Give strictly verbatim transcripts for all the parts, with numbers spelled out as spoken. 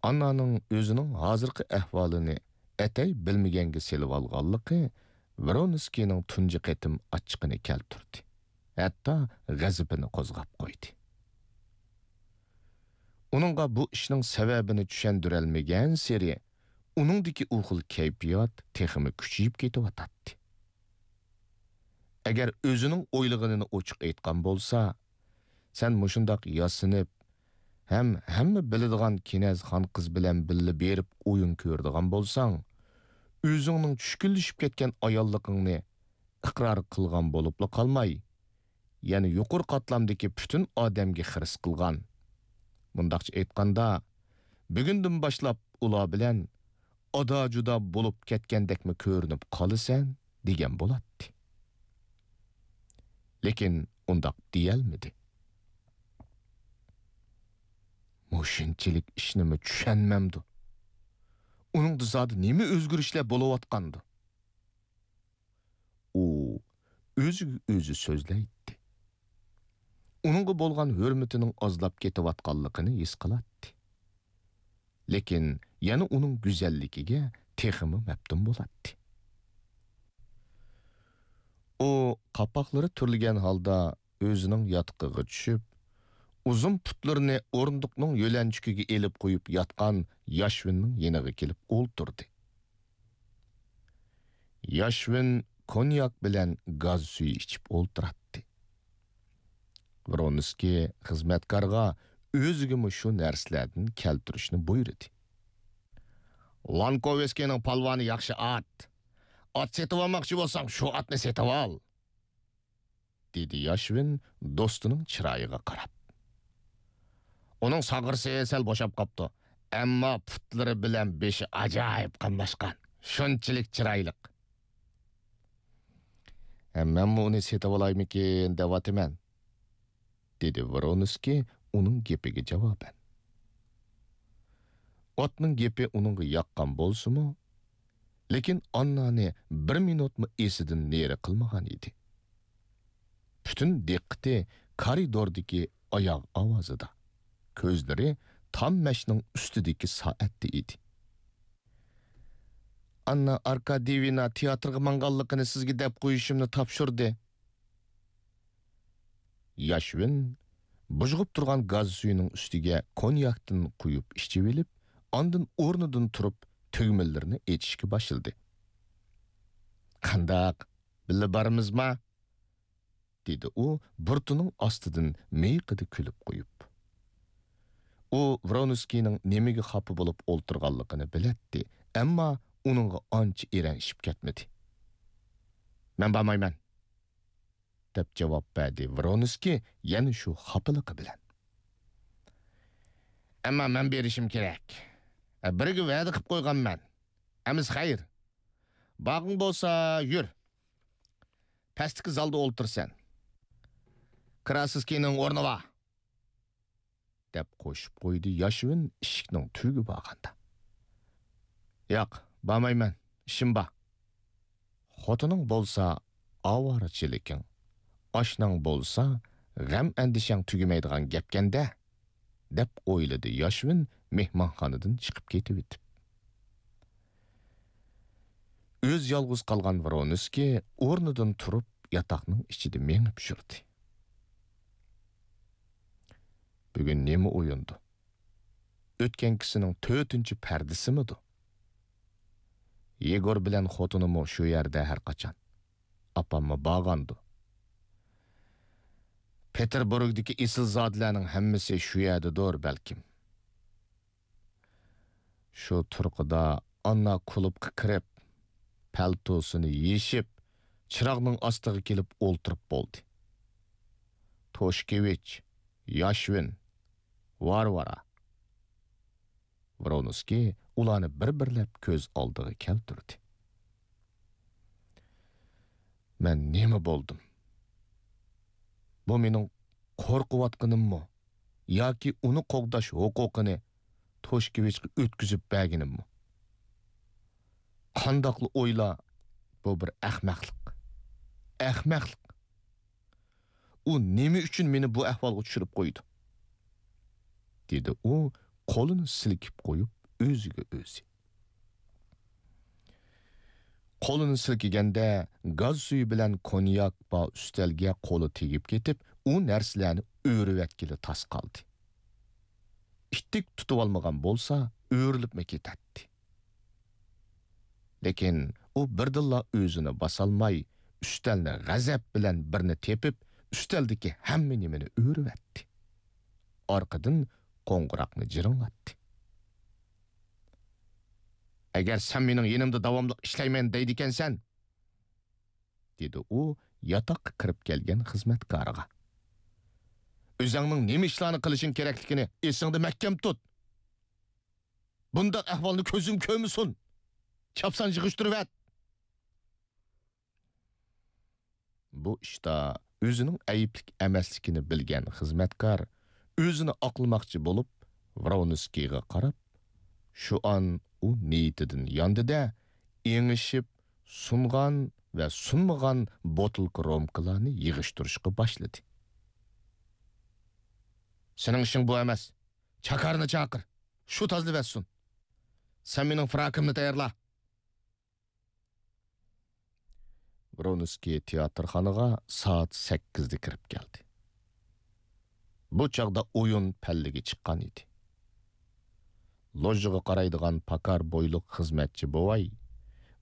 ئاننانىڭ ئۆزىنىڭ ھازىرقى ئەھۋالىنى ئەتەي بىلمىگەنگە سېلىۋالغانلىقى ۋرونسكىينىڭ تۇنجى قېتىم ئاچچىقىنى كەلتۈردى، ھەتتا غەزىپىنى قوزغاپ قويدى. ئۇنىڭغا بۇ ئىشنىڭ سەۋەبىنى چۈشەندۈرەلمىگەنسېرى، ئۇنىڭدىكى ئۇ خىل كەيپىيات تېخىمۇ كۈچىيىپ كېتىۋاتاتتى. ئەگەر ئۆزىنىڭ ئويلىغىنىنى ئوچۇق ئېيتقان بولسا، سەن مۇشۇنداق ياسىنىپ ھەم ھەممە بىلىدىغان كىنەز خانقىز بىلەن بىللە بېرىپ ئويۇن كۆرىدىغان بولساڭ، ئۆزۈڭنىڭ چۈشكۈنلىشىپ كەتكەن ئاياللىقىڭنى ئىقرار قىلغان بولۇپلا قالماي، يەنە يۇقىرى قاتلامدىكى پۈتۈن ئادەمگە خىرىس قىلغان. مۇنداقچە ئېيتقاندا، بۈگۈندىن باشلاپ ئۇلار بىلەن ئادا-جۇدا بولۇپ كەتكەندەكمۇ كۆرۈنۈپ قالىسەن، دېگەن بولاتتى. لېكىن ئۇنداق دېيەلمىدى. مۇشۇنچىلىك ئىشنىمۇ چۈشەنمەمدۇ؟ ئۇنىڭدا زادى نېمە ئۆزگىرىشلەر بولۇۋاتقاندۇ؟ ئۇ ئۆزىگە ئۆزى سۆزلەيتتى. ئۇنىڭغا بولغان ھۆرمىتىنىڭ ئازلاپ كېتىۋاتقانلىقىنى ھېس قىلاتتى. لېكىن يەنە ئۇنىڭ گۈزەللىكىگە تېخىمۇ مەپتۇن بولاتتى. ئۇ قاپاقلىرى تۈرۈلگەن ھالدا ئۆزىنىڭ ياتىقىغا چۈشۈپ، ئۇزۇن پۇتلىرىنى ئورۇندۇقنىڭ يۆلەنچۈكىگە ئېلىپ قويۇپ ياتقان ياشۋىننىڭ يېنىغا كېلىپ ئولتۇردى. ياشۋىن كونياك بىلەن گاز سۈيى ئىچىپ ئولتۇراتتى. ۋرونسكىي خىزمەتكارغا ئۆزىگىمۇ شۇ نەرسىلەردىن كەلتۈرۈشنى بۇيرۇدى. «لانكوۋسكىينىڭ پالۋانى ياخشى ئات. ئات سېتىۋالماقچى بولساڭ، شۇ ئاتنى سېتىۋال.» دېدى ياشۋىن دوستىنىڭ چىرايىغا قاراپ. «ئۇنىڭ ساغرىسى سەل بوشاپ قاپتۇ، ئەمما پۇتلىرى بىلەن بېشى ئاجايىپ قاملاشقان، شۇنچىلىك چىرايلىق.» «ھە، مەنمۇ ئۇنى سېتىۋالايمىكىن دەۋاتىمەن»، دېدى ۋرونسكىي ئۇنىڭ گېپىگە جاۋابەن. ئاتنىڭ گېپى ئۇنىڭغا ياققان بولسىمۇ، لېكىن ئاننانى بىر مىنۇتمۇ ئېسىدىن نېرى قىلمىغان ئىدى. پۈتۈن دىققىتى كارىدوردىكى ئاياغ ئاۋازىدا، كۆزلىرى تام مەشنىڭ ئۈستىدىكى سائەتتە ئىدى. «ئاننا ئاركاديېۋنا تىياتىرغا ماڭغانلىقىنى سىزگە دەپ قويۇشۇمنى تاپشۇردى.» ياشۋىن بۇژغۇپ تۇرغان گاز سۈيىنىڭ ئۈستىگە كونياكتىن قۇيۇپ ئىچىۋېلىپ، ئاندىن ئورنىدىن تۇرۇپ تۈگمىلىرىنى ئېچىشقا باشلىدى. «قانداق، بىللە بارىمىزما؟» دېدى ئۇ بۇرۇتىنىڭ ئاستىدىن مىيىقىدا كۈلۈپ قويۇپ. ئۇ ۋرونسكىينىڭ نېمىگە خاپا بولۇپ ئولتۇرغانلىقىنى بىلەتتى، ئەمما ئۇنىڭغا ئانچە ئېرەنشىپ كەتمىدى. «مەن بارمايمەن.» دەپ جاۋاب بەردى ۋرونسكىي يەنە شۇ خاپىلىقى بىلەن. «ئەمما مەن بېرىشىم كېرەك. بىرىگە ۋەدە قىلىپ قويغانمەن. ئەمىسە خەير. بارغۇڭ بولسا يۈر. پەستىكى زالدا ئولتۇرىسەن. كراسسكىينىڭ ئورنى بار.» دەپ قوشۇپ قويدى ياشۋىن ئىشىكنىڭ تۈۋىگە بارغاندا. «ياق، بارمايمەن، ئىشىم بار.» «خوتۇنۇڭ بولسا ئاۋارىچىلىكىڭ، ئاشناڭ بولسا غەم-ئەندىشەڭ تۈگىمەيدىغان گەپكەن-دە» دەپ ئويلىدى ياشۋىن مېھمانخانىدىن چىقىپ كېتىۋېتىپ. ئۆزى يالغۇز قالغان ۋرونسكىي ئورنىدىن تۇرۇپ ياتاقنىڭ ئىچىدە مېڭىپ يۈردى. بۈگۈن نېمە ئويۇندۇ؟ ئۆتكەنكىسىنىڭ تۆتىنچى پەردىسىمىدۇ؟ يېگور بىلەن خوتۇنىمۇ شۇ يەردە ھەر قاچان. ئاپاممۇ بارغاندۇ؟ پېتېربۇرگدىكى ئېسىلزادىلەرنىڭ ھەممىسى شۇ يەردىدۇر بەلكىم. شۇ تۇرقىدا ئاننا كۇلۇبقا كىرىپ، پەلتوسىنى يېشىپ، چىراغنىڭ ئاستىغا كېلىپ ئولتۇرۇپ بولدى. توشكېۋىچ، ياشۋىن، ۋارۋارا. ۋرونسكىي ئۇلارنى بىر-بىرلەپ كۆز ئالدىغا كەلتۈردى. مەن نېمە بولدۇم؟ بۇ مېنىڭ قورقۇۋاتقىنىممۇ ياكى ئۇنى قوغداش ھوقۇقىنى توشكېۋىچقا ئۆتكۈزۈپ بەرگىنىممۇ؟ قانداقلا ئويلا، بۇ بىر ئەخمەقلىق. ئەخمەقلىق. ئۇ نېمە ئۈچۈن مېنى بۇ ئەھۋالغا چۈشۈرۈپ قويدى؟ دېدى ئۇ قولىنى سىلكىپ قويۇپ، ئۆزىگە ئۆزى. قولىنى سىلكىگەندە، گاز سۈيى بىلەن كونياك بار ئۈستەلگە قولى تېگىپ كېتىپ، ئۇ نەرسىلەرنى ئۆرۈۋەتكىلى تاس قالدى. ئىتتىك تۇتۇۋالمىغان بولسا، ئۆرۈلۈپمۇ كېتەتتى. لېكىن ئۇ بىردىنلا ئۆزىنى باسالماي، ئۈستەلنى غەزەپ بىلەن بىرنى تېپىپ، ئۈستەلدىكى ھەممە نېمىنى ئۆرۈۋەتتى. ئارقىدىن قوڭغۇراقنى جىرىڭلاتتى. «ئەگەر سەن مېنىڭ يېنىمدا داۋاملىق ئىشلەيمەن دەيدىكەنسەن،» دېدى ئۇ ياتاققا كىرىپ كەلگەن خىزمەتكارغا. «ئۆزۈڭنىڭ نېمە ئىشلارنى قىلىشىڭ كېرەكلىكىنى ئېسىڭدە مەھكەم تۇت. بۇنداق ئەھۋالنى كۆزۈڭ كۆرمىسۇن. چاپسان يىغىشتۇرۇۋەت.» بۇ ئىشتا ئۆزىنىڭ ئەيىبلىك ئەمەسلىكىنى بىلگەن خىزمەتكار ئۆزىنى ئاقلىماقچى بولۇپ، ۋرونسكىيغا قاراپ، شۇئان ئۇ نىيىتىدىن ياندى-دە، ئېڭىشىپ، سۇنغان ۋە سۇنمىغان بوتۇلكا رومكىلارنى يىغىشتۇرۇشقا باشلىدى. «سېنىڭ ئىشىڭ بۇ ئەمەس. چاكارنى چاقىر. شۇ تازىلىۋەتسۇن. سەن مېنىڭ فراكىمنى تەييارلا.» ۋرونسكىي تىياتىرخانىغا سائەت سەككىزدە كىرىپ كەلدى. بۇ چاغدا ئويۇن پەللىگە چىققان ئىدى. لوژىغا قارايدىغان پاكار بويلۇق خىزمەتچى بوۋاي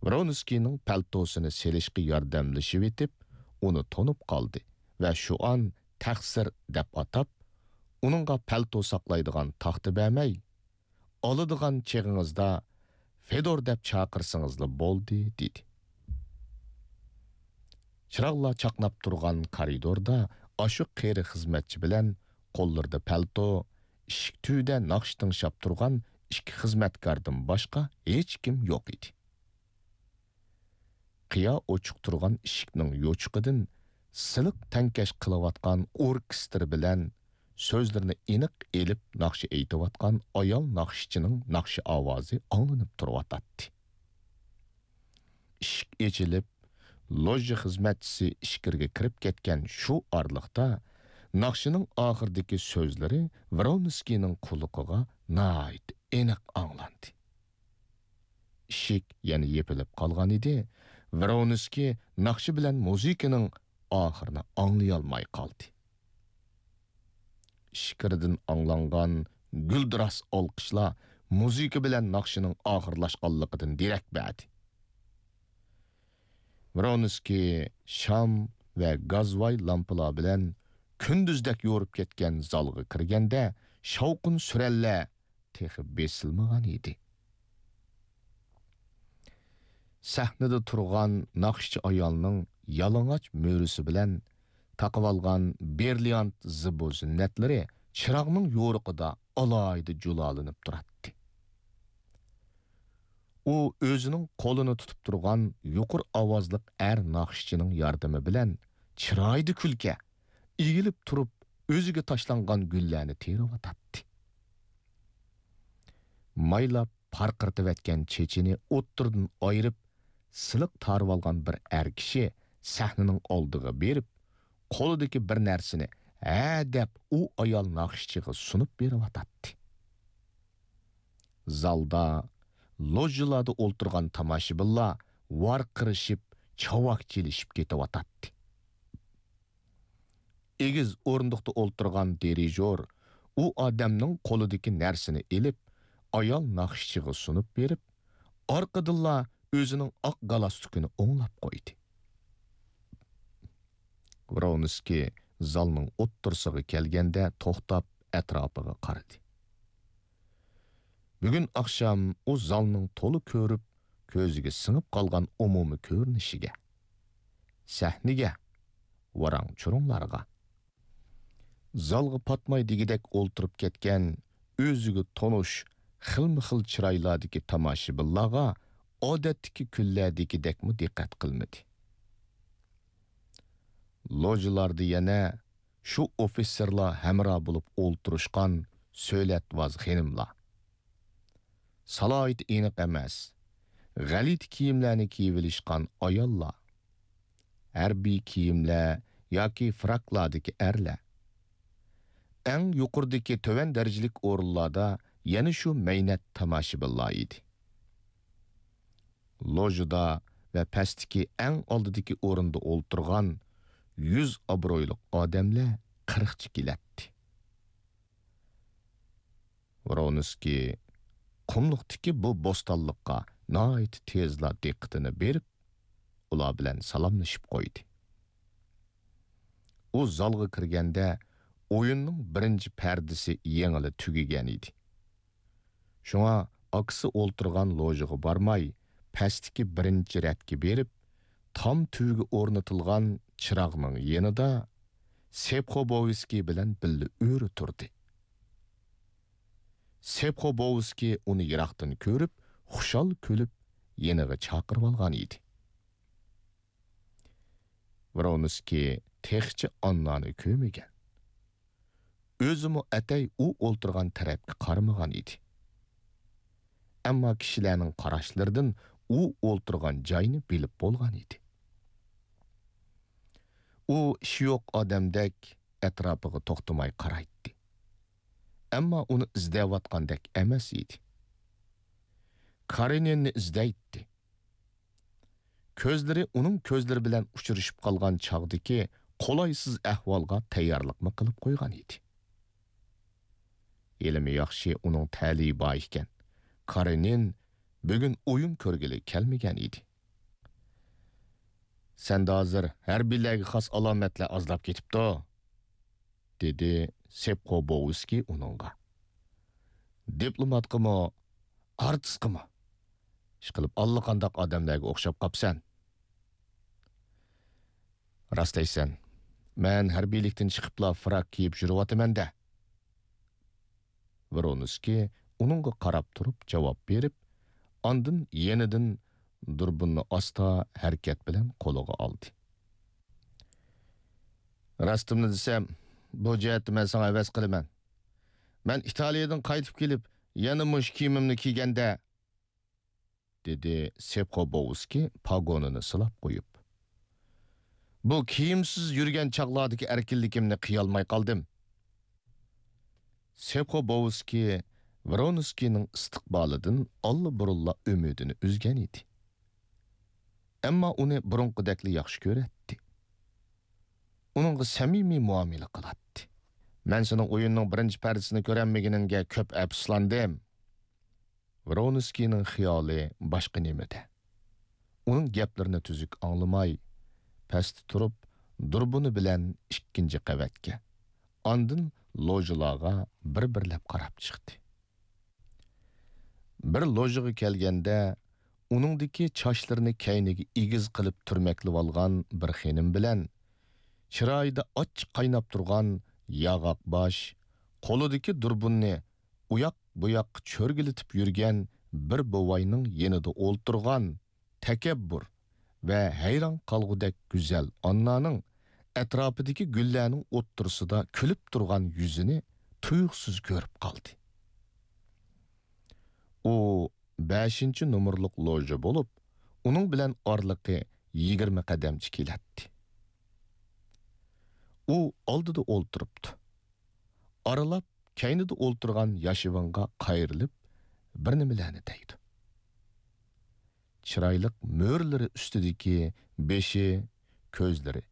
ۋرونسكىينىڭ پەلتوسىنى سېلىشقا ياردەملىشىۋېتىپ، ئۇنى تونۇپ قالدى ۋە شۇئان تەقسىر دەپ ئاتاپ، ئۇنىڭغا پەلتو ساقلايدىغان تاختا بەرمەي، «ئالىدىغان چېغىڭىزدا فېدور دەپ چاقىرسىڭىزلا بولدى» دېدى. چىراغلار چاقناپ تۇرغان كارىدوردا ئاشۇ قېرى خىزمەتچى بىلەن قوللىرىدا پەلتو، ئىشىك تۈۋىدە ناخشا تىڭشاپ تۇرغان ئىككى خىزمەتكاردىن باشقا ھېچكىم يوق ئىدى. قىيا ئوچۇق تۇرغان ئىشىكنىڭ يوچۇقىدىن سىلىق تەڭكەش قىلىۋاتقان ئوركېستىر بىلەن سۆزلىرىنى ئېنىق ئېلىپ ناخشا ئېيتىۋاتقان ئايال ناخشىچىنىڭ ناخشا ئاۋازى ئاڭلىنىپ تۇرۇۋاتاتتى. ئىشىك ئېچىلىپ، لوژا خىزمەتچىسى ئىچكىرىگە كىرىپ كەتكەن شۇ ئارىلىقتا، ناخشىنىڭ ئاخىرىدىكى سۆزلىرى ۋرونسكىينىڭ قۇلىقىغا ناھايىتى ئېنىق ئاڭلاندى. ئىشىك يەنە يېپىلىپ قالغان ئىدى. ۋرونسكىي ناخشا بىلەن مۇزىكىنىڭ ئاخىرىنى ئاڭلىيالماي قالدى. ئىچكىرىدىن ئاڭلانغان گۈلدۈراس ئالقىشلار مۇزىكا بىلەن ناخشىنىڭ ئاخىرلاشقانلىقىدىن دېرەك بەردى. ۋرونسكىي شام ۋە گازۋاي لامپىلار بىلەن كۈندۈزدەك يورۇپ كەتكەن زالغا كىرگەندە، شاۋقۇن-سۈرەنلەر تېخى بېسىلمىغان ئىدى. سەھنىدە تۇرغان ناخشىچى ئايالنىڭ يالىڭاچ مۈرىسى بىلەن تاقىۋالغان برىليانت زىبۇ-زىننەتلىرى چىراغنىڭ يورۇقىدا ئالاھىدە جۇلالىنىپ تۇراتتى. ئۇ ئۆزىنىڭ قولىنى تۇتۇپ تۇرغان يۇقىرى ئاۋازلىق ئەر ناخشىچىنىڭ ياردىمى بىلەن چىرايىدا كۈلكە، ئېگىلىپ تۇرۇپ ئۆزىگە تاشلانغان گۈللەرنى تېرىۋاتاتتى. مايلاپ پارقىرىتىۋەتكەن چېچىنى ئوتتۇرىدىن ئايرىپ، سىلىق تارىۋالغان بىر ئەر كىشى سەھنىنىڭ ئالدىغا بېرىپ، قولىدىكى بىر نەرسىنى ھە دەپ ئۇ ئايال ناخشىچىغا سۇنۇپ بېرىۋاتاتتى. زالدا، لوژىلاردا ئولتۇرغان تاماشىبىنلار ۋارقىرىشىپ، چاۋاك چېلىشىپ كېتىۋاتاتتى. ئېگىز ئورۇندۇقتا ئولتۇرغان دىرىژور ئۇ ئادەمنىڭ قولىدىكى نەرسىنى ئېلىپ، ئايال ناخشىچىغا سۇنۇپ بېرىپ، ئارقىدىنلا ئۆزىنىڭ ئاق گالستۇكىنى ئوڭلاپ قويدى. ۋرونسكىي زالنىڭ ئوتتۇرىسىغا كەلگەندە توختاپ ئەتراپىغا قارىدى. بۈگۈن ئاخشام ئۇ زالنىڭ تولا كۆرۈپ، كۆزىگە سىڭىپ قالغان ئومۇمىي كۆرۈنۈشىگە، سەھنىگە، ۋاراڭ-چۇرۇڭلارغا، زالغا پاتماي دېگۈدەك ئولتۇرۇپ كەتكەن ئۆزىگە تونۇش خىلمۇ خىل چىرايلاردىكى تاماشىبىنلارغا ئادەتتىكى كۈنلەردىكىدەكمۇ دىققەت قىلمىدى. لوژىلاردا يەنە شۇ ئوفىتسېرلار ھەمراھ بولۇپ ئولتۇرۇشقان سۆلەتۋاز خېنىملار، سالاھىيىتى ئېنىق ئەمەس، غەلىتە كىيىملەرنى كىيىۋېلىشقان ئاياللار، ھەربىي كىيىملەر ياكى فراكلاردىكى ئەرلەر، ئەڭ يۇقىرىدىكى تۆۋەن دەرىجىلىك ئورۇنلاردا يەنە شۇ مەينەت تاماشىبىنلار ئىدى. لوژىدا ۋە پەستىكى ئەڭ ئالدىدىكى ئورۇندا ئولتۇرغان يۈز ئابرۇيلۇق ئادەملەر قىرىقچە كېلەتتى. ۋرونسكىي قۇملۇقتىكى بۇ بوستانلىققا ناھايىتى تېزلا دىققىتىنى بېرىپ، ئۇلار بىلەن سالاملىشىپ قويدى. ئۇ زالغا كىرگەندە، ئويۇننىڭ بىرىنچى پەردىسى يېڭىلا تۈگىگەن ئىدى. شۇڭا ئاكىسى ئولتۇرغان لوژىغا بارماي، پەستىكى بىرىنچى رەتكە بېرىپ، تام تۈۋىگە ئورنىتىلغان چىراغنىڭ يېنىدا سېپخوبوۋسكىي بىلەن بىللە ئۆرە تۇردى. سېپخوبوۋسكىي ئۇنى يىراقتىن كۆرۈپ، خۇشال كۈلۈپ، يېنىغا چاقىرىۋالغان ئىدى. ۋرونسكىي تېخىچە ئاننانى كۆرمىگەن. ئۆزىمۇ ئەتەي ئۇ ئولتۇرغان تەرەپكە قارىمىغان ئىدى. ئەمما كىشىلەرنىڭ قاراشلىرىدىن ئۇ ئولتۇرغان جاينى بىلىپ بولغان ئىدى. ئۇ ئىشى يوق ئادەمدەك ئەتراپىغا توختىماي قارايتتى. ئەمما ئۇنى ئىزدەۋاتقاندەك ئەمەس ئىدى. كارېنىننى ئىزدەيتتى. كۆزلىرى ئۇنىڭ كۆزلىرى بىلەن ئۇچرىشىپ قالغان چاغدىكى قولايسىز ئەھۋالغا تەييارلىقمۇ قىلىپ قويغان ئىدى. ھېلىمۇ ياخشى، ئۇنىڭ تەلىيى بار ئىكەن. كارېنىن بۈگۈن ئويۇن كۆرگىلى كەلمىگەن ئىدى. «سەندە ھازىر ھەربىيلەرگە خاس ئالامەتلەر ئازلاپ كېتىپتۇ»، دېدى سېپخوبوۋسكىي ئۇنىڭغا. «دىپلوماتقىمۇ، ئارتىسقىمۇ؟ ئىشقىلىپ، ئاللىقانداق ئادەملەرگە ئوخشاپ قاپسەن.» «راست دەيسەن. مەن ھەربىيلىكتىن چىقىپلا فراك كىيىپ يۈرۈۋاتىمەن-دە.» ۋرونسكىي ئۇنىڭغا قاراپ تۇرۇپ جاۋاب بېرىپ، ئاندىن يېنىدىن دۇربۇننى ئاستا ھەرىكەت بىلەن قولىغا ئالدى. «راستىمنى دېسەم، بۇ جەھەتتە مەن ساڭا ھەۋەس قىلىمەن. مەن ئىتالىيەدىن قايتىپ كېلىپ، يەنە مۇشۇ كىيىمىمنى كىيگەندە»، دېدى سېپخوبوۋسكىي پاگونىنى سىلاپ قويۇپ. «بۇ كىيىمسىز يۈرگەن چاغلاردىكى ئەركىنلىكىمنى قىيالماي قالدىم.» سېپخوبوۋسكىي ۋرونسكىينىڭ ئىستىقبالىدىن ئاللىبۇرۇنلا ئۈمىدىنى ئۈزگەن ئىدى. ئەمما ئۇنى بۇرۇنقىدەكلا ياخشى كۆرەتتى. ئۇنىڭغا سەمىمىي مۇئامىلە قىلاتتى. «مەن سېنىڭ ئويۇننىڭ بىرىنچى پەردىسىنى كۆرەلمىگىنىڭگە كۆپ ئەپسۇسلاندىم.» ۋرونسكىينىڭ خىيالى باشقا نېمىدە. ئۇنىڭ گەپلىرىنى تۈزۈك ئاڭلىماي، پەستە تۇرۇپ، دۇربۇنى بىلەن ئىككىنچى قەۋەتكە، ئاندىن لوژىلارغا بىر-بىرلەپ قاراپ چىقتى. بىر لوژىغا كەلگەندە، ئۇنىڭدىكى چاچلىرىنى كەينىگە ئېگىز قىلىپ تۈرمەكلىۋالغان بىر خېنىم بىلەن، چىرايىدا ئاچچىق قايناپ تۇرغان ياغاق باش، قولىدىكى دۇربۇننى ئۇياق-بۇياققا چۆرگىلىتىپ يۈرگەن بىر بوۋاينىڭ يېنىدا ئولتۇرغان تەكەببۇر ۋە ھەيران قالغۇدەك گۈزەل ئاننانىڭ ئەتراپىدىكى گۈللەرنىڭ ئوتتۇرىسىدا كۈلۈپ تۇرغان يۈزىنى تۇيۇقسىز كۆرۈپ قالدى. ئۇ بەشىنچى نومۇرلۇق لوژا بولۇپ، ئۇنىڭ بىلەن ئارىلىقى يىگىرمە قەدەمچە كېلەتتى. ئۇ ئالدىدا ئولتۇرۇپتۇ. ئارىلاپ كەينىدە ئولتۇرغان ياشىۋىنغا قايرىلىپ، بىر نېمىلەرنى دەيدۇ. چىرايلىق مۈرىلىرى ئۈستىدىكى بېشى، كۆزلىرى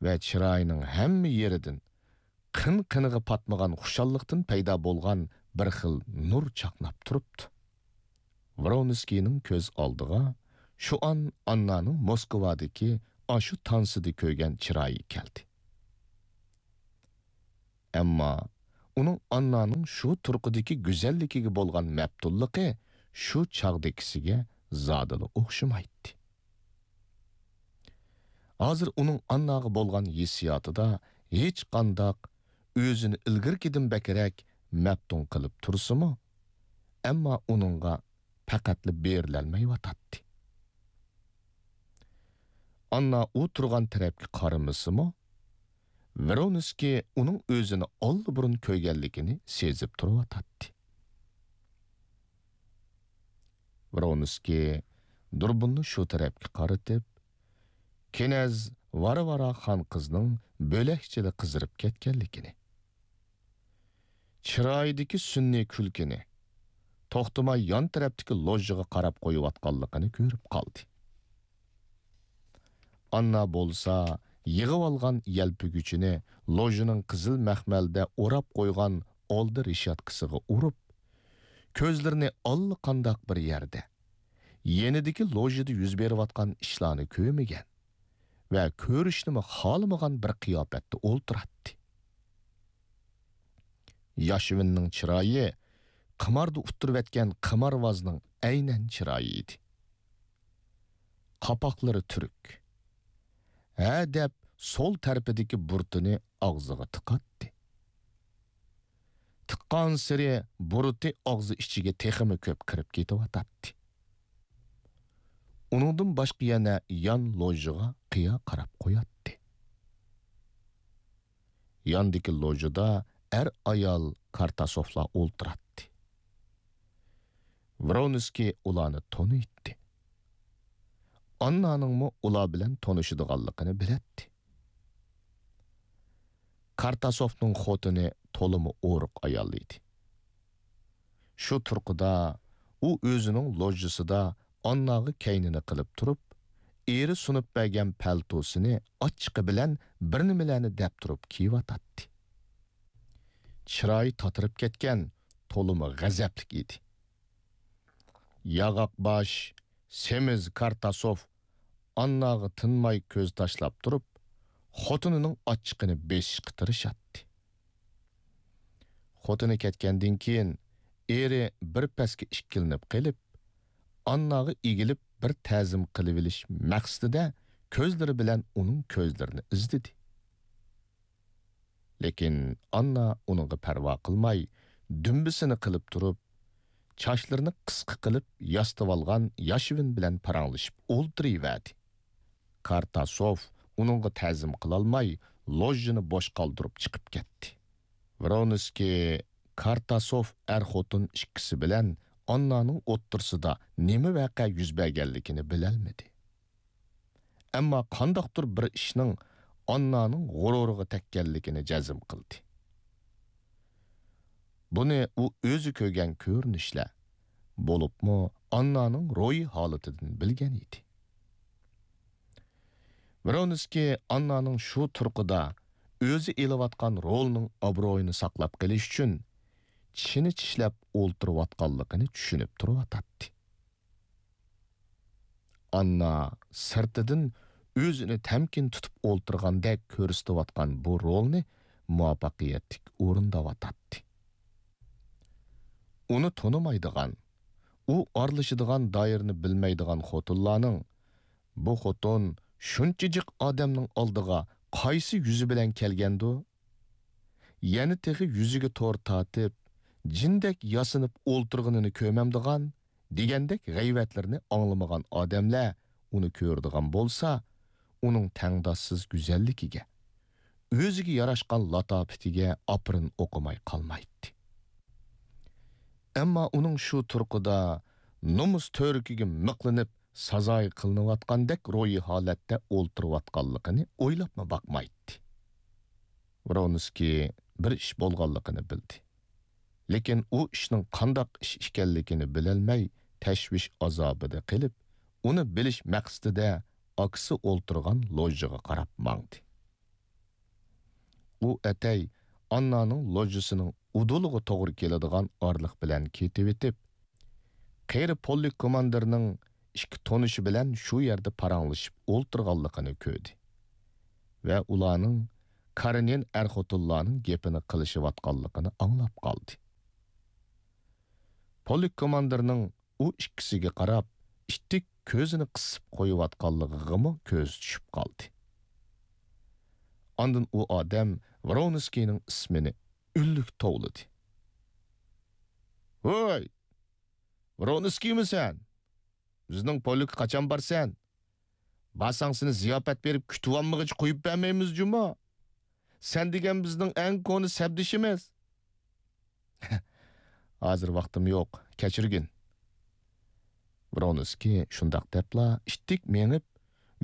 ۋە چىرايىنىڭ ھەممە يېرىدىن قىن-قىنىغا پاتمىغان خۇشاللىقتىن پەيدا بولغان بىر خىل نۇر چاقناپ تۇرۇپتۇ. ۋرونسكىينىڭ كۆز ئالدىغا شۇ ئان ئاننانىڭ موسكۋادىكى ئاشۇ تانسىدا كۆرگەن چىرايى كەلدى. ئەمما ئۇنىڭ ئاننانىڭ شۇ تۇرقىدىكى گۈزەللىكىگە بولغان مەپتۇنلۇقى شۇ چاغدىكىسىگە زادىلا ئوخشىمايتتى. ھازىر ئۇنىڭ ئانناغا بولغان ھېسسىياتىدا ھېچقانداق ئۆزىنى ئىلگىرىكىدىن بەكرەك مەپتۇن قىلىپ تۇرسىمۇ، ئەمما ئۇنىڭغا پەقەتلا بېرىلەلمەيۋاتاتتى. ئاننا ئۇ تۇرغان تەرەپكە قارىمىسىمۇ، ۋرونسكىي ئۇنىڭ ئۆزىنى ئاللىبۇرۇن كۆرگەنلىكىنى سېزىپ تۇرۇۋاتاتتى. ۋرونسكىي دۇربۇننى شۇ تەرەپكە قارىتىپ، كېنەز ۋارۋارا خان قىزنىڭ بۆلەكچىلا قىزىرىپ كەتكەنلىكىنى، چىرايىدىكى سۈنئىي كۈلكىنى، توختىماي يان تەرەپتىكى لوژژىغا قاراپ قويۇۋاتقانلىقىنى كۆرۈپ قالدى. ئاننا بولسا يىغىۋالغان يەلپۈگۈچىنى لوژژىنىڭ قىزىل مەخمەلدە ئوراپ قويغان ئالدى رېشاتكىسىغا ئۇرۇپ، كۆزلىرىنى ئاللىقانداق بىر يەردە، يېنىدىكى لوژژىدا يۈز بېرىۋاتقان ئىشلارنى كۆرمىگەن ۋە كۆرۈشنىمۇ خالىمىغان بىر قىياپەتتە ئولتۇراتتى. ياشۋىننىڭ چىرايى قىماردا ئۇتتۇرۇۋەتكەن قىمارۋازنىڭ ئەينەن چىرايى ئىدى. قاپاقلىرى تۈرۈك. ھە دەپ سول تەرىپىدىكى بۇرۇتىنى ئاغزىغا تىقاتتى. تىققانسېرى بۇرۇتى ئاغزى ئىچىگە تېخىمۇ كۆپ كىرىپ كېتىۋاتاتتى. ئۇنىڭدىن باشقا يەنە يان لوژژىغا قىيا قاراپ قوياتتى. ياندىكى لوژژىدا ئەر-ئايال كارتاسوفلار ئولتۇراتتى. ۋرونسكىي ئۇلارنى تونۇيتتى. ئاننانىڭمۇ ئۇلار بىلەن تونۇشىدىغانلىقىنى بىلەتتى. كارتاسوفنىڭ خوتۇنى تولىمۇ ئورۇق ئايال ئىدى. شۇ تۇرقىدا ئۇ ئۆزىنىڭ لوژژىسىدا ئانناغا كەينىنى قىلىپ تۇرۇپ، ئېرى سۇنۇپ بەرگەن پەلتوسىنى ئاچچىقى بىلەن بىر نېمىلەرنى دەپ تۇرۇپ كىيىۋاتاتتى. چىرايى تاتىرىپ كەتكەن، تولىمۇ غەزەپلىك ئىدى. ياغاق باش، سېمىز كارتاسوف ئانناغا تىنماي كۆز تاشلاپ تۇرۇپ، خوتۇنىنىڭ ئاچچىقىنى بېسىشقا تىرىشاتتى. خوتۇنى كەتكەندىن كېيىن، ئېرى بىر پەسكە ئىككىلىنىپ قېلىپ، ئانناغا ئېگىلىپ بىر تەزىم قىلىۋېلىش مەقسىتىدە كۆزلىرى بىلەن ئۇنىڭ كۆزلىرىنى ئىزدىدى. لېكىن ئاننا ئۇنىڭغا پەرۋا قىلماي، دۈمبىسىنى قىلىپ تۇرۇپ، چاچلىرىنى قىسقا قىلىپ ياسىتىۋالغان ياشۋىن بىلەن پاراڭلىشىپ ئولتۇرۇۋەردى. كارتاسوف ئۇنىڭغا تەزىم قىلالماي، لوژژىنى بوش قالدۇرۇپ چىقىپ كەتتى. ۋرونسكىي كارتاسوف ئەر-خوتۇن ئىككىسى بىلەن ئاننانىڭ ئوتتۇرىسىدا نېمە ۋەقە يۈز بەرگەنلىكىنى بىلەلمىدى. ئەمما قانداقتۇر بىر ئىشنىڭ ئاننانىڭ غۇرۇرىغا تەگكەنلىكىنى جەزم قىلدى. بۇنى ئۇ ئۆزى كۆرگەن كۆرۈنۈشلەر، بولۇپمۇ ئاننانىڭ روھىي ھالىتىدىن بىلگەن ئىدى. ۋرونسكىي ئاننانىڭ شۇ تۇرقىدا ئۆزى ئېلىۋاتقان رولىنىڭ ئابرۇيىنى ساقلاپ قېلىش ئۈچۈن چىشىنى چىشلەپ ئولتۇرۇۋاتقانلىقىنى چۈشىنىپ تۇرۇۋاتاتتى. ئاننا سىرتىدىن ئۆزىنى تەمكىن تۇتۇپ ئولتۇرغاندەك كۆرسىتىۋاتقان بۇ رولنى مۇۋەپپەقىيەتلىك ئورۇنداۋاتاتتى. ئۇنى تونۇمايدىغان، ئۇ ئارىلىشىدىغان دائىرىنى بىلمەيدىغان خوتۇنلارنىڭ، «بۇ خوتۇن شۇنچە جىق ئادەمنىڭ ئالدىغا قايسى يۈزى بىلەن كەلگەندۇ؟» يەنە تېخى يۈزىگە تور تارتىپ، جىندەك ياسىنىپ ئولتۇرغىنىنى كۆرمەمدىغان، دېگەندەك غەيۋەتلىرىنى ئاڭلىمىغان ئادەملەر ئۇنى كۆرىدىغان بولسا، ئۇنىڭ تەڭداشسىز گۈزەللىكىگە، ئۆزىگە ياراشقان لاتاپىتىگە ئاپىرىن ئوقۇماي قالمايتتى. ئەمما ئۇنىڭ شۇ تۇرقىدا نومۇس تۈۋرۈكىگە مىقلىنىپ سازايى قىلىنىۋاتقاندەك روھىي ھالەتتە ئولتۇرۇۋاتقانلىقىنى ئويلاپمۇ باقمايتتى. ۋرونسكىي بىر ئىش بولغانلىقىنى بىلدى. لېكىن ئۇ ئىشنىڭ قانداق ئىش ئىكەنلىكىنى بىلەلمەي، تەشۋىش ئازابىدا قېلىپ، ئۇنى بىلىش مەقسىتىدە ئاكىسى ئولتۇرغان لوژژىغا قاراپ ماڭدى. ئۇ ئەتەي ئاننانىڭ لوژژىسىنىڭ ئۇدۇلىغا توغرا كېلىدىغان ئارىلىق بىلەن كېتىۋېتىپ، قېرى پولك كوماندىرنىڭ ئىككى تونۇشى بىلەن شۇ يەردە پاراڭلىشىپ ئولتۇرغانلىقىنى كۆردى ۋە ئۇلارنىڭ كارېنىن ئەر-خوتۇنلارنىڭ گېپىنى قىلىشىۋاتقانلىقىنى ئاڭلاپ قالدى. پولك كوماندىرنىڭ ئۇ ئىككىسىگە قاراپ، ئىتتىك كۆزىنى قىسىپ قويۇۋاتقانلىقىغىمۇ كۆزى چۈشۈپ قالدى. ئاندىن ئۇ ئادەم ۋرونسكىينىڭ ئىسمىنى ئۈنلۈك توۋلىدى. «ھوي! ۋرونسكىيمۇ سەن؟ بىزنىڭ پولكقا قاچان بارسەن؟ بارساڭ سېنى زىياپەت بېرىپ كۈتۈۋالمىغىچە قويۇپ بەرمەيمىز جۇمۇ. سەن دېگەن بىزنىڭ ئەڭ كونا سەپدىشىمىز.» «ھازىر ۋاقتىم يوق، كەچۈرگىن.» ۋرونسكىي شۇنداق دەپلا ئىتتىك مېڭىپ،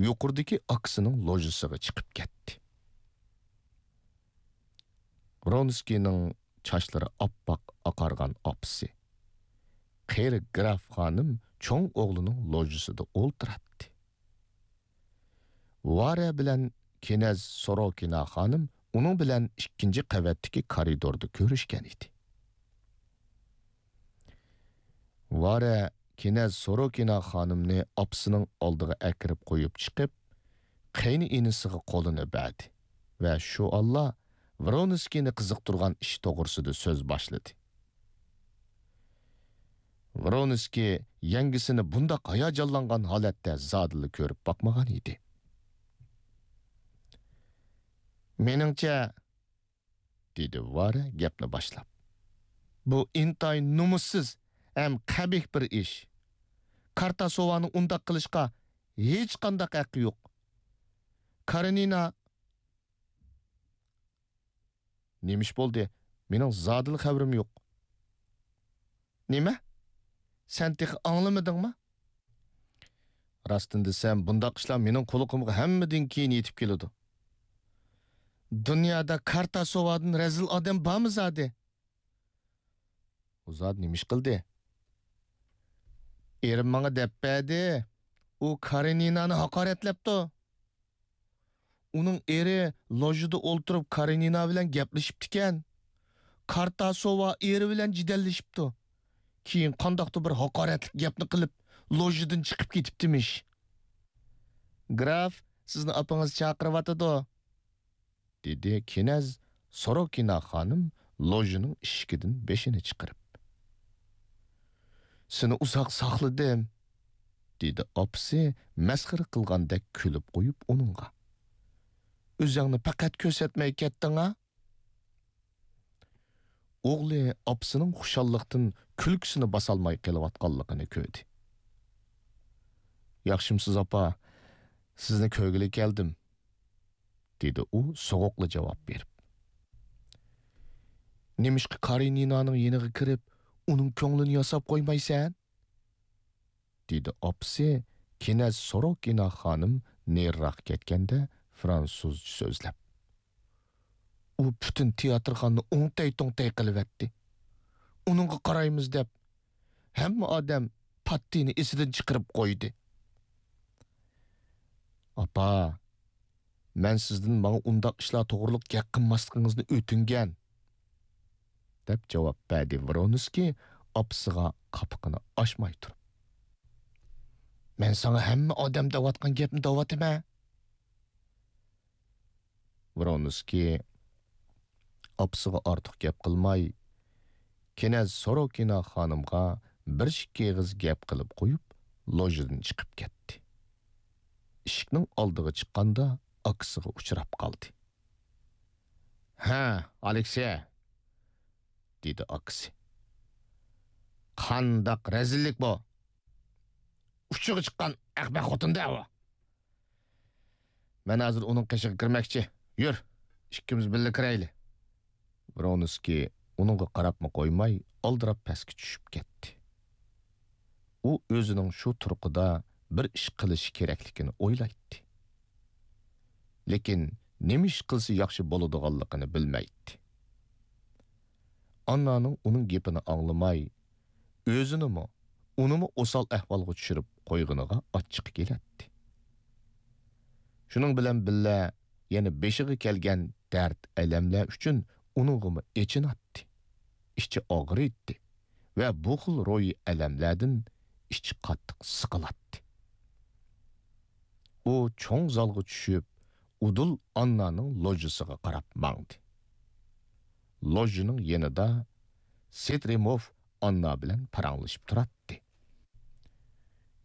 يۇقىرىدىكى ئاكىسىنىڭ لوژىسىغا چىقىپ كەتتى. ۋرونسكىينىڭ چاچلىرى ئاپئاق ئاقارغان ئاپىسى، قېرى گراف خانىم چوڭ ئوغلىنىڭ لوژىسىدا ئولتۇراتتى. ۋارە بىلەن كېنەز سوروكىنا خانىم ئۇنىڭ بىلەن ئىككىنچى قەۋەتتىكى كارىدوردا كۆرۈشكەن ئىدى. ۋارە كېنەز سوروكىنا خانىمنى ئاپىسىنىڭ ئالدىغا ئەكىرىپ قويۇپ چىقىپ، قېيىنئىنىسىغا قولىنى بەردى ۋە شۇ ئاللا ۋرونسكىينى قىزىقتۇرغان ئىش توغرىسىدا سۆز باشلىدى. ۋرونسكىي يەڭگىسىنى بۇنداق ھاياجانلانغان ھالەتتە زادىلا كۆرۈپ باقمىغان ئىدى. مېنىڭچە، دېدى ۋارە گەپنى باشلاپ. بۇ ئىنتايىن نومۇسسىز ھەم قەبىھ بىر ئىش. كارتاسوۋانىڭ ئۇنداق قىلىشقا ھېچقانداق ھەققى يوق. كارېنىنا. نېمە ئىش بولدى؟ مېنىڭ زادىلا خەۋىرىم يوق. نېمە؟ سەن تېخى ئاڭلىمىدىڭمۇ؟ راستىنى دېسەم، بۇنداق ئىشلار مېنىڭ قۇلىقىمغا ھەممىدىن كېيىن يېتىپ كېلىدۇ. دۇنيادا كارتاسوۋادىن رەزىل ئادەم بارمۇ زادى؟ ئۇ زادى نېمە ئىش قىلدى؟ ئېرىم ماڭا دەپ بەردى. ئۇ كارېنىنانى ھاقارەتلەپتۇ. ئۇنىڭ ئېرى لوژىدا ئولتۇرۇپ كارېنىنا بىلەن گەپلىشىپتىكەن. كارتاسوۋا ئېرى بىلەن جېدەللىشىپتۇ. كېيىن قانداقتۇر بىر ھاقارەتلىك گەپنى قىلىپ، لوژىدىن چىقىپ كېتىپتىمىش. گراف، سىزنى ئاپىڭىز چاقىرىۋاتىدۇ، دېدى كېنەز سوروكىنا خانىم لوژىنىڭ ئىشىكىدىن بېشىنى چىقىرىپ. سېنى ئۇزاق ساقلىدىم، دېدى ئاپىسى مەسخىرە قىلغاندەك كۈلۈپ قويۇپ ئۇنىڭغا. ئۆزۈڭنى پەقەت كۆرسەتمەي كەتتىڭ-ھە؟ ئوغلى ئاپىسىنىڭ خۇشاللىقتىن كۈلكىسىنى باسالماي قېلىۋاتقانلىقىنى كۆردى. ياخشىمسىز، ئاپا؟ سىزنى كۆرگىلى كەلدىم، دېدى ئۇ سوغۇقلا جاۋاب بېرىپ. نېمىشقا كارېنىنانىڭ يېنىغا كىرىپ، ئۇنىڭ كۆڭلىنى ياساپ قويمايسەن؟ دېدى ئاپىسى كېنەز سوروكىنا خانىم نېرىراق كەتكەندە فرانسۇزچە سۆزلەپ. ئۇ پۈتۈن تىياتىرخانىنى ئوڭتەي-توڭتەي قىلىۋەتتى. ئۇنىڭغا قارايمىز دەپ، ھەممە ئادەم پاتتىنى ئېسىدىن چىقىرىپ قويدى. ئاپا، مەن سىزدىن ماڭا ئۇنداق ئىشلار توغرىلىق گەپ قىلماسلىقىڭىزنى ئۆتۈنگەن، دەپ جاۋاب بەردى ۋرونسكىي ئاپىسىغا قاپىقىنى ئاچماي تۇرۇپ. مەن ساڭا ھەممە ئادەم دەۋاتقان گەپنى دەۋاتىمەن. ۋرونسكىي ئاپىسىغا ئارتۇق گەپ قىلماي، كېنەز سوروكىنا خانىمغا بىر ئىككى ئېغىز گەپ قىلىپ قويۇپ، لوژىدىن چىقىپ كەتتى. ئىشىكنىڭ ئالدىغا چىققاندا، ئاكىسىغا ئۇچراپ قالدى. ھە، ئالېكسېي، دېدى ئاكىسى. قانداق رەزىللىك بۇ! ئۇچىغا چىققان ئەخمەق خوتۇن-دە ئۇ! مەن ھازىر ئۇنىڭ قېشىغا كىرمەكچى. يۈر، ئىككىمىز بىللە كىرەيلى. ۋرونسكىي ئۇنىڭغا قاراپمۇ قويماي، ئالدىراپ پەسكە چۈشۈپ كەتتى. ئۇ ئۆزىنىڭ شۇ تۇرقىدا بىر ئىش قىلىشى كېرەكلىكىنى ئويلايتتى. لېكىن نېمە ئىش قىلسا ياخشى بولىدىغانلىقىنى بىلمەيتتى. ئاننانىڭ ئۇنىڭ گېپىنى ئاڭلىماي، ئۆزىنىمۇ، ئۇنىمۇ ئوسال ئەھۋالغا چۈشۈرۈپ قويغىنىغا ئاچچىقى كېلەتتى. شۇنىڭ بىلەن بىللە، يەنە بېشىغا كەلگەن دەرد-ئەلەملەر ئۈچۈن ئۇنىڭغىمۇ ئېچىناتتى، ئىچى ئاغرىيتتى ۋە بۇ خىل روھىي ئەلەملەردىن ئىچى قاتتىق سىقىلاتتى. ئۇ چوڭ زالغا چۈشۈپ، ئۇدۇل ئاننانىڭ لوژىسىغا قاراپ ماڭدى. لوژىنىڭ يېنىدا سېترىموف ئاننا بىلەن پاراڭلىشىپ تۇراتتى.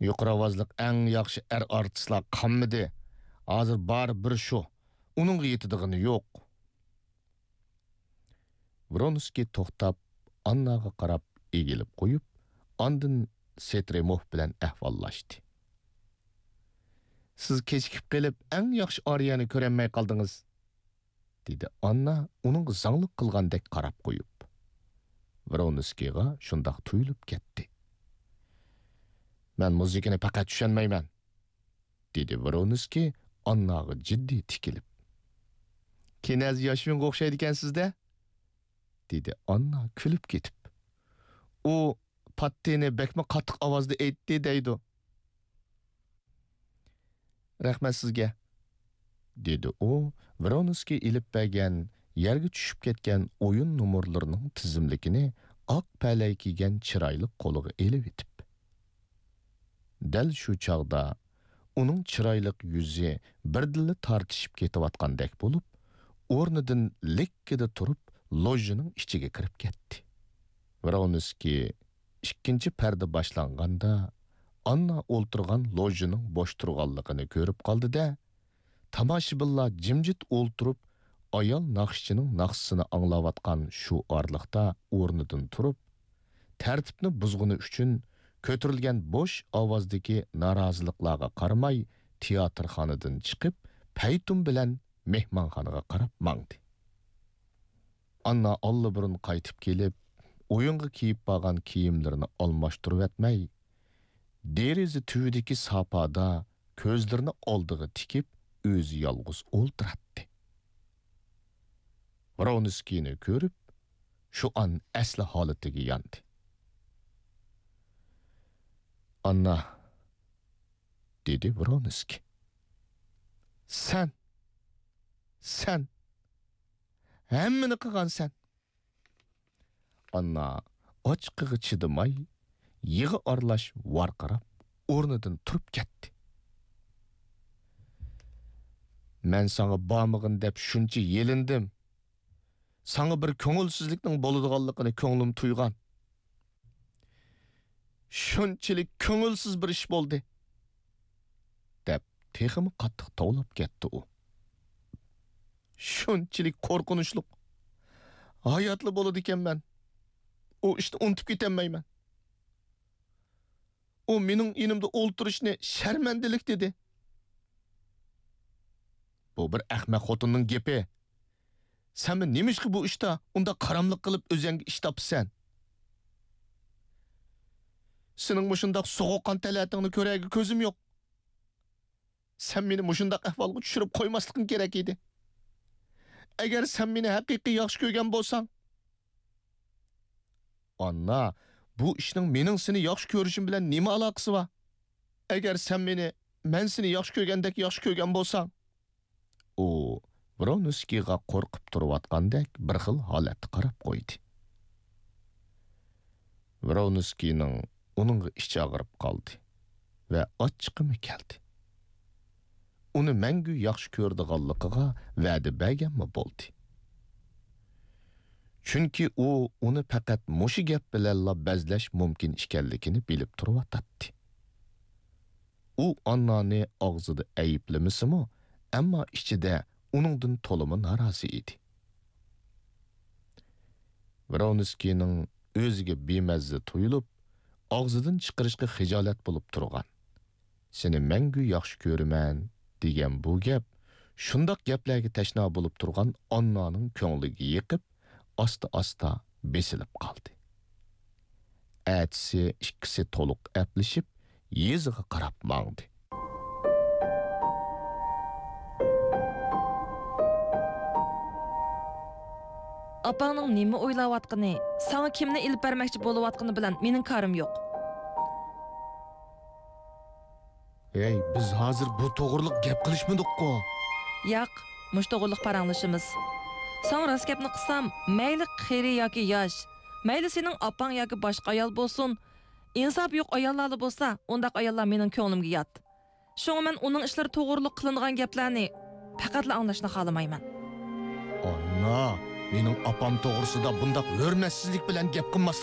يۇقىرى ئاۋازلىق ئەڭ ياخشى ئەر ئارتىسلار قالمىدى. ھازىر بار بىر شۇ. ئۇنىڭغا يېتىدىغىنى يوق. ۋرونسكىي توختاپ، ئانناغا قاراپ ئېگىلىپ قويۇپ، ئاندىن سېترىموف بىلەن ئەھۋاللاشتى. سىز كېچىكىپ قېلىپ، ئەڭ ياخشى ئارىيەنى كۆرەلمەي قالدىڭىز، دېدى ئاننا ئۇنىڭغا زاڭلىق قىلغاندەك قاراپ قويۇپ. ۋرونسكىيغا شۇنداق تۇيۇلۇپ كەتتى. مەن مۇزىكىنى پەقەت چۈشەنمەيمەن، دېدى ۋرونسكىي ئانناغا جىددىي تىكىلىپ. كېنەز ياشۋىنغا ئوخشايدىكەنسىز-دە، دېدى ئاننا كۈلۈپ كېتىپ. ئۇ «قاتتىنى بەكمۇ قاتتىق ئاۋازدا ئېيتتى» دەيدۇ. «رەھمەت سىزگە»، دېدى ئۇ ۋرونسكىي ئېلىپ بەرگەن يەرگە چۈشۈپ كەتكەن ئويۇن نومۇرلىرىنىڭ تىزىملىكىنى ئاق پەلەي كىيگەن چىرايلىق قولىغا ئېلىۋېتىپ. دەل شۇ چاغدا ئۇنىڭ چىرايلىق يۈزى بىردىنلا تارتىشىپ كېتىۋاتقاندەك بولۇپ، ئورنىدىن لىككىدە تۇرۇپ، لوژژىنىڭ ئىچىگە كىرىپ كەتتى. ۋرونسكىي ئىككىنچى پەردە باشلانغاندا، ئاننا ئولتۇرغان لوژژىنىڭ بوش تۇرغانلىقىنى كۆرۈپ قالدى-دە، تاماشىبىنلار جىمجىت ئولتۇرۇپ، ئايال ناخشىچىنىڭ ناخشىسىنى ئاڭلاۋاتقان شۇ ئارىلىقتا ئورنىدىن تۇرۇپ، تەرتىپنى بۇزغىنى ئۈچۈن كۆتۈرۈلگەن بوش ئاۋازدىكى نارازىلىقلارغا قارىماي، تىياتىرخانىدىن چىقىپ، پەيتۇن بىلەن مېھمانخانىغا قاراپ ماڭدى. ئاننا ئاللىبۇرۇن قايتىپ كېلىپ، ئويۇنغا كىيىپ بارغان كىيىملىرىنى ئالماشتۇرۇۋەتمەي، دېرىزە تۈۋىدىكى ساپادا كۆزلىرىنى ئالدىغا تىكىپ، ئۆزى يالغۇز ئولتۇراتتى. ۋرونسكىينى كۆرۈپ، شۇ ئان ئەسلى ھالىتىگە ياندى. «ئاننا»، دېدى ۋرونسكىي. «سەن، سەن، ھەممىنى قىلغانسەن.» ئاننا ئاچچىقىغا چىدىماي، يىغا ئارىلاش ۋارقىراپ، ئورنىدىن تۇرۇپ كەتتى. «مەن ساڭا بارمىغىن دەپ شۇنچە يېلىندىم. ساڭا بىر كۆڭۈلسىزلىكنىڭ بولىدىغانلىقىنى كۆڭلۈم تۇيغان. شۇنچىلىك كۆڭۈلسىز بىر ئىش بولدى» دەپ، تېخىمۇ قاتتىق توۋلاپ كەتتى ئۇ. «شۇنچىلىك قورقۇنچلۇق. ھاياتلا بولىدىكەنمەن، ئۇ ئىشنى ئۇنتۇپ كېتەلمەيمەن. ئۇ مېنىڭ يېنىمدا ئولتۇرۇشنى شەرمەندىلىك دېدى.» «بۇ بىر ئەخمەق خوتۇننىڭ گېپى. سەنمۇ نېمىشقا بۇ ئىشتا ئۇنداق قاراملىق قىلىپ ئۆزۈڭگە ئىش تاپىسەن؟ سېنىڭ مۇشۇنداق سوغۇققان تەلەتىڭنى كۆرەرگە كۆزۈم يوق. سەن مېنى مۇشۇنداق ئەھۋالغا چۈشۈرۈپ قويماسلىقىڭ كېرەك ئىدى. ئەگەر سەن مېنى ھەقىقىي ياخشى كۆرگەن بولساڭ.» «ئاننا، بۇ ئىشنىڭ مېنىڭ سېنى ياخشى كۆرۈشۈم بىلەن نېمە ئالاقىسى بار؟ ئەگەر سەن مېنى مەن سېنى ياخشى كۆرگەندەك ياخشى كۆرگەن بولساڭ.» ئۇ ۋرونسكىيغا قورقۇپ تۇرۇۋاتقاندەك بىر خىل ھالەتتە قاراپ قويدى. ۋرونسكىينىڭ ئۇنىڭغا ئىچى ئاغرىپ قالدى ۋە ئاچچىقىمۇ كەلدى. ئۇنى مەڭگۈ ياخشى كۆرىدىغانلىقىغا ۋەدە بەرگەنمۇ بولدى. چۈنكى ئۇ ئۇنى پەقەت مۇشۇ گەپ بىلەنلا بەزلەش مۇمكىن ئىكەنلىكىنى بىلىپ تۇرۇۋاتاتتى. ئۇ ئاننانى ئاغزىدا ئەيىبلىمىسىمۇ، ئەمما ئىچىدە ئۇنىڭدىن تولىمۇ نارازى ئىدى. ۋرونسكىينىڭ ئۆزىگە بىمەززە تۇيۇلۇپ، ئاغزىدىن چىقىرىشقا خىجالەت بولۇپ تۇرغان، «سېنى مەڭگۈ ياخشى كۆرىمەن» دېگەن بۇ گەپ شۇنداق گەپلەرگە تەشنا بولۇپ تۇرغان ئاننانىڭ كۆڭلىگە يېقىپ، ئاستا-ئاستا بېسىلىپ قالدى. ئەتىسى ئىككىسى تولۇق ئەپلىشىپ، يېزىغا قاراپ ماڭدى. ئاپاڭنىڭ نېمە ئويلاۋاتقىنى، ساڭا كىمنى ئېلىپ بەرمەكچى بولۇۋاتقىنى بىلەن مېنىڭ كارىم يوق. ھەي، بىز ھازىر بۇ توغرىلىق گەپ قىلىشمىدۇققۇ؟ ياق، مۇشۇ توغرىلىق پاراڭلىشىمىز. ساڭا راست گەپنى قىلسام، مەيلى قېرى ياكى ياش، مەيلى سېنىڭ ئاپاڭ ياكى باشقا ئايال بولسۇن، ئىنسابى يوق ئاياللارلا بولسا، ئۇنداق ئاياللار مېنىڭ كۆڭلۈمگە يات. شۇڭا مەن ئۇنىڭ ئىشلىرى توغرىلىق قىلىنغان گەپلەرنى پەقەتلا ئاڭلاشنى خالىمايمەن. ئاننا، مېنىڭ ئاپام توغرىسىدا بۇنداق ھۆرمەتسىزلىك بىلەن گەپ قىلماسلىق